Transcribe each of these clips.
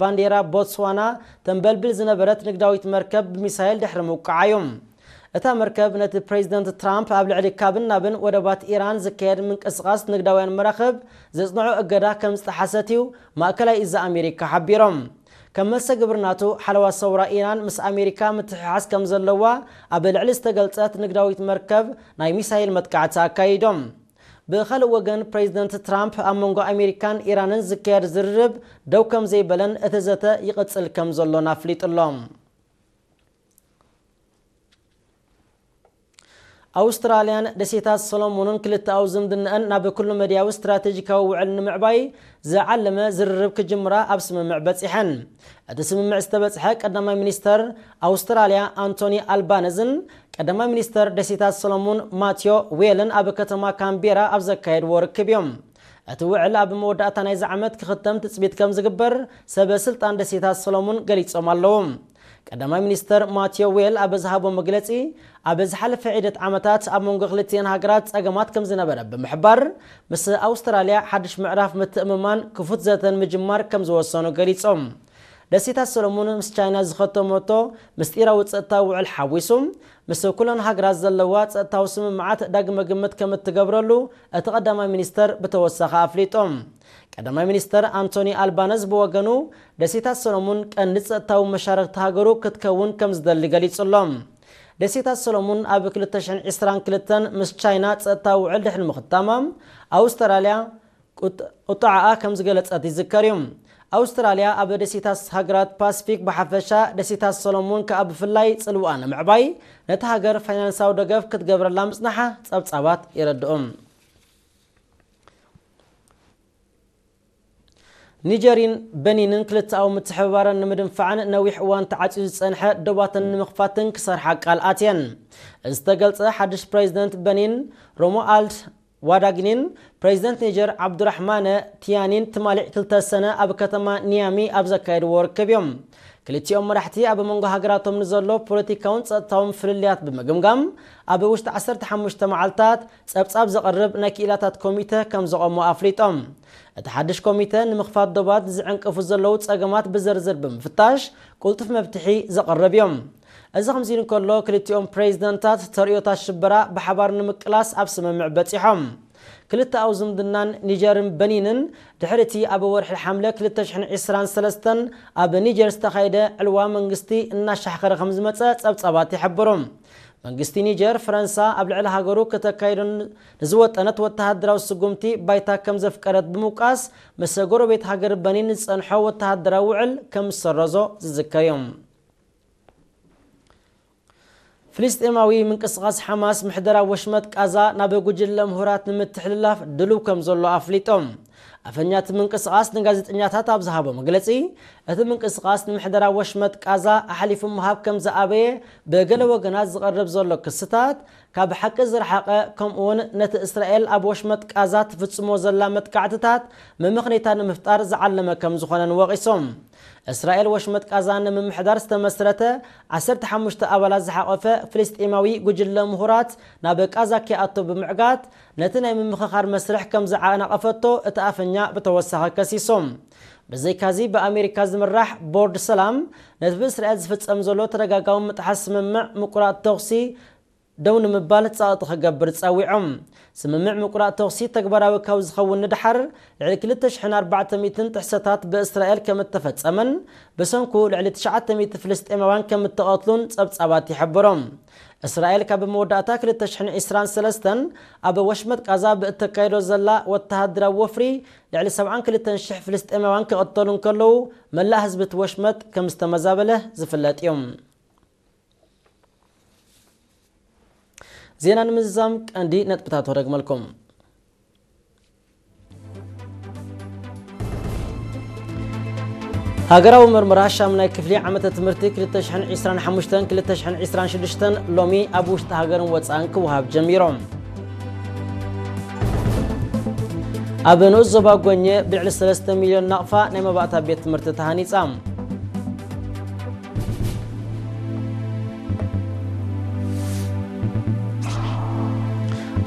ባንዴራ ቦትስዋና ተንበልብል ዝነበረት ንግዳዊት መርከብ ብሚሳይል ድሕሪ ምውቃዓ እዩ። እታ መርከብ ነቲ ፕሬዚደንት ትራምፕ ኣብ ልዕሊ ካብን ናብን ወደባት ኢራን ዝካየድ ምንቅስቓስ ንግዳውያን መራኽብ ዘጽንዖ እገዳ ከም ዝጠሓሰት እዩ ማእከላይ እዝ ኣሜሪካ ሓቢሮም። ከም መልሰ ግብሪ ናቱ ሓለዋ ሰውራ ኢራን ምስ ኣሜሪካ ምትሕሓዝ ከም ዘለዋ ኣብ ልዕሊ ዝተገልጸት ንግዳዊት መርከብ ናይ ሚሳይል መጥቃዕቲ ኣካይዶም። ብኻልእ ወገን ፕሬዚደንት ትራምፕ ኣብ መንጎ ኣሜሪካን ኢራንን ዝካየድ ዝርርብ ደው ከም ዘይበለን እቲ ዘተ ይቕጽል ከም ዘሎን ኣፍሊጡ ኣሎ። ኣውስትራልያን ደሴታት ሰሎሞንን ክልተኣዊ ዝምድናኣን ናብ ኩሉ መድያዊ ስትራቴጂካዊ ውዕል ንምዕባይ ዝዓለመ ዝርርብ ክጅምራ ኣብ ስምምዕ በጺሐን። እቲ ስምምዕ ዝተበጽሐ ቀዳማይ ሚኒስተር ኣውስትራልያ ኣንቶኒ ኣልባነዝን ቀዳማይ ሚኒስተር ደሴታት ሰሎሞን ማቲዮ ዌልን ኣብ ከተማ ካምቤራ ኣብ ዘካየድዎ ርክብ እዮም። እቲ ውዕል ኣብ መወዳእታ ናይዚ ዓመት ክኽተም ትጽቢት ከም ዝግበር ሰበ ስልጣን ደሴታት ሰሎሞን ገሊጾም ኣለዉ። ቀዳማይ ሚኒስተር ማቲዮ ዌል ኣብ ዝሃቦ መግለጺ፣ ኣብ ዝሓለፈ ዒደት ዓመታት ኣብ መንጎ ክልቲአን ሃገራት ጸገማት ከም ዝነበረ ብምሕባር፣ ምስ ኣውስትራልያ ሓድሽ ምዕራፍ ምትእምማን ክፉት ዘተን ምጅማር ከም ዝወሰኑ ገሊጾም። ደሴታት ሰሎሞን ምስ ቻይና ዝኸተመቶ ምስጢራዊ ጸጥታዊ ውዕል ሓዊሱ፣ ምስ ኩለን ሃገራት ዘለዋ ጸጥታዊ ስምምዓት ዳግመ ግምት ከም እትገብረሉ እቲ ቀዳማይ ሚኒስተር ብተወሳኺ ኣፍሊጦም። ቀዳማይ ሚኒስተር ኣንቶኒ ኣልባነዝ ብወገኑ፣ ደሴታት ሰሎሙን ቀንዲ ጸጥታዊ መሻርክቲ ሃገሩ ክትከውን ከም ዝደሊ ገሊጹ ኣሎ። ደሴታት ሰሎሙን ኣብ ክልተ ሽሕን ዕስራን ክልተን ምስ ቻይና ጸጥታዊ ውዕል ድሕሪ ምኽታማ፣ ኣውስትራልያ ቁጥ-፣ ቁጥዓኣ ከም ዝገለጸት ይዝከር እዩ። ኣውስትራልያ ኣብ ደሴታት ሃገራት ፓሲፊክ ብሓፈሻ፣ ደሴታት ሰሎሙን ከኣ ብፍላይ ጽልዋኣ ንምዕባይ ነቲ ሃገር ፋይናንሳዊ ደገፍ ክትገብረላ ምጽናሓ ጸብጻባት የረድኡ። ኒጀርን በኒንን ክልተኣዊ ምትሕብባረን ንምድንፋዕን ነዊሕ እዋን ተዓጽዩ ዝጸንሐ ዶባተን ንምኽፋትን ክሰርሓ ቃል ኣትየን። ዝተገልጸ ሓድሽ ፕሬዚደንት በኒን ሮሞኣልድ ዋዳግኒን ፕሬዚደንት ኒጀር ዓብዱራሕማነ ቲያኒን ትማሊ ክልተ ሰነ ኣብ ከተማ ኒያሚ ኣብ ዘካየድዎ ርክብ እዮም። ክልቲኦም መራሕቲ ኣብ መንጎ ሃገራቶም ንዘሎ ፖለቲካውን ጸጥታውን ፍልልያት ብምግምጋም፣ ኣብ ውሽጢ ዓሰርተ ሓሙሽተ መዓልታት ጸብጻብ ዘቕርብ ናይ ክኢላታት ኮሚተ ከም ዘቐሙ ኣፍሊጦም። እቲ ሓድሽ ኮሚተ ንምኽፋት ዶባት ዝዕንቅፉ ዘለዉ ጸገማት ብዝርዝር ብምፍታሽ፣ ቅልጡፍ መፍትሒ ዘቕርብ እዮም። እዚ ከምዚ ኢሉ እንከሎ፣ ክልቲኦም ፕሬዚደንታት ተርእዮታት ሽበራ ብሓባር ንምቅላስ ኣብ ስምምዕ በጺሖም። ክልተኣዊ ዝምድናን ኒጀርን በኒንን ድሕሪ እቲ ኣብ ወርሒ ሓምለ ክልተ ሽሕን ዕስራን ሰለስተን ኣብ ኒጀር ዝተኻየደ ዕልዋ መንግስቲ እናሻሕኸረ ከም ዝመጸ ጸብጻባት ይሕብሩ። መንግስቲ ኒጀር፣ ፈረንሳ ኣብ ልዕሊ ሃገሩ ከተካይዶ ንዝወጠነት ወተሃደራዊ ስጉምቲ ባይታ ከም ዘፍቀደት ብምውቃስ፣ ምስ ጎረቤት ሃገር በኒን ዝጸንሖ ወተሃደራዊ ውዕል ከም ዝሰረዞ ዝዝከር እዩ። ፍልስጤማዊ ምንቅስቓስ ሓማስ ምሕደራ ወሽመጥ ቃዛ ናብ ጉጅለ ምሁራት ንምትሕልላፍ ድሉው ከም ዘሎ ኣፍሊጦም። ኣፈኛ እቲ ምንቅስቓስ ንጋዜጠኛታት ኣብ ዝሃቦ መግለጺ፣ እቲ ምንቅስቓስ ንምሕደራ ወሽመጥ ቃዛ ኣሕሊፉ ምሃብ ከም ዝኣበየ ብገለ ወገናት ዝቐርብ ዘሎ ክስታት ካብ ሓቂ ዝረሓቐ፣ ከምኡውን ነቲ እስራኤል ኣብ ወሽመጥ ቃዛ ትፍጽሞ ዘላ መጥቃዕትታት መመኽነይታ ንምፍጣር ዝዓለመ ከም ዝኾነን ወቒሶም። እስራኤል ወሽመጥ ቃዛ ንምምሕዳር ዝተመስረተ ዓሰርተ ሓሙሽተ ኣባላት ዝሓቖፈ ፍልስጤማዊ ጉጅለ ምሁራት ናብ ቃዛ ከይኣቱ ብምዕጋት፣ ነቲ ናይ ምምኽኻር መስርሕ ከም ዝዓናቐፈቶ እቲ ኣፈኛ ብተወሳኺ ከሲሶም። ብዘይካዚ፣ ብኣሜሪካ ዝምራሕ ቦርድ ሰላም ነቲ ብእስራኤል ዝፍጸም ዘሎ ተደጋጋሚ ምጥሓስ ስምምዕ ምቁራጽ ተኹሲ ደው ንምባል ጸቕጢ ክገብር ጸዊዖም። ስምምዕ ምቁራጽ ተኹሲ ተግባራዊ ካብ ዝኸውን ንድሓር፣ ልዕሊ ክልተ ሽሕን ኣርባዕተ ሚእትን ጥሕሰታት ብእስራኤል ከም እተፈጸመን፣ ብሰንኩ ልዕሊ ትሽዓተ ሚእቲ ፍልስጤማውያን ከም እተቐትሉን ጸብጻባት ይሕብሩ። እስራኤል ካብ መወዳእታ ክልተ ሽሕን ዕስራን ሰለስተን ኣብ ወሽመጥ ቃዛ ብእተካይዶ ዘላ ወተሃደራዊ ወፍሪ፣ ልዕሊ ሰብዓን ክልተን ሽሕ ፍልስጤማውያን ክቕተሉ እንከለዉ፣ መላእ ህዝቢ እቲ ወሽመጥ ከም ዝተመዛበለ ዝፍለጥ እዩ። ዜና ንምዝዛም ቀንዲ ነጥብታት ወደግመልኩም። ሃገራዊ ምርመራ ሻምናይ ክፍሊ ዓመተ ትምህርቲ ክልተ ሽሕን ዕስራን ሓሙሽተን ክልተ ሽሕን ዕስራን ሽዱሽተን ሎሚ ኣብ ውሽጢ ሃገርን ወጻእን ክወሃብ ጀሚሮም። ኣብ ንኡስ ዞባ ጎኘ ብልዕሊ ሰለስተ ሚልዮን ናቕፋ ናይ መባእታ ቤት ትምህርቲ ተሃኒጻ።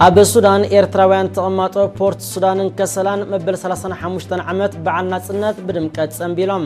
ኣብ ሱዳን፣ ኤርትራውያን ተቐማጦ ፖርት ሱዳንን ከሰላን መበል ሰላሳን ሓሙሽተን ዓመት በዓል ናጽነት ብድምቀት ጸንቢሎም።